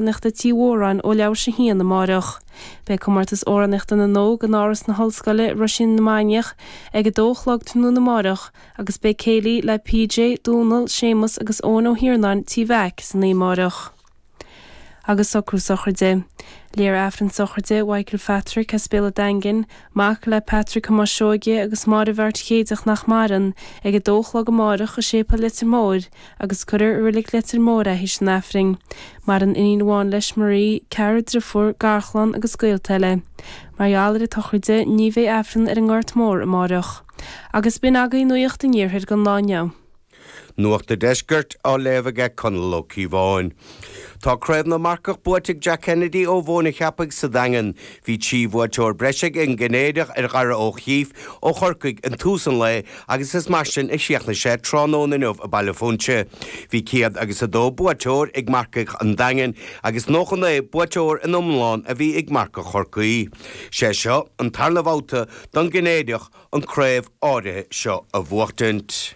Amhránaíochta Tí Mhóráin ó leathuair théis a haon amáireach. Beidh Comórtas Amhránaíochta na nÓg in Áras na hOllscoile, Roisín na Mainiach, ag a dó a chlog tráthnóna amáireach agus beidh céilí le PJ, Dónal, Séamus agus Eoin Ó hIarnáin, Tí Mheaic, san oíche amáireach. Agus socrú sochraide. Léifear Aifreann sochraide Mhichael Phatrick as Béal an Daingin, mac le Patrick Thomáis Seoige agus Máire Mheáirt Chéideach nach maireann, ag a dó a chlog amáireach i Séipéal Leitir Móir, agus cuirfear i Reilig Leitir Móir é théis an Aifrinn. Maireann iníon amháin leis, Marie, ceathrar driofúr, garchlann agus gaolta eile. Mar gheall ar an tsochraid, ní bheidh Aifreann ar an nGort Mór amáireach. Agus b'in agaibh Nuacht an Iarthair don lá inniu. Nuacht an Deiscirt á léamh aige Conall Ó Cíobháin. Tá Craobh na Marcach buaite ag Jack Kennedy ó Mhóin an Cheapaigh sa Daingean. Bhí 3 bhuaiteoir breise ag an gCeinnéideach ar Dhara Ó Chíff ó Chorcaigh in tús an lae agus is mar sin a chríochnaigh sé tráthnóna inniu i Baile Phúinse. Bhí 102 buaiteoir ag marcaigh an Daingin agus 99 buaiteoir in iomlán a bhí ag marcaigh Chorcaí. Sé seo an tarna bhabhta don gCeinnéideach an craobh áirithe seo a bhuachtaint.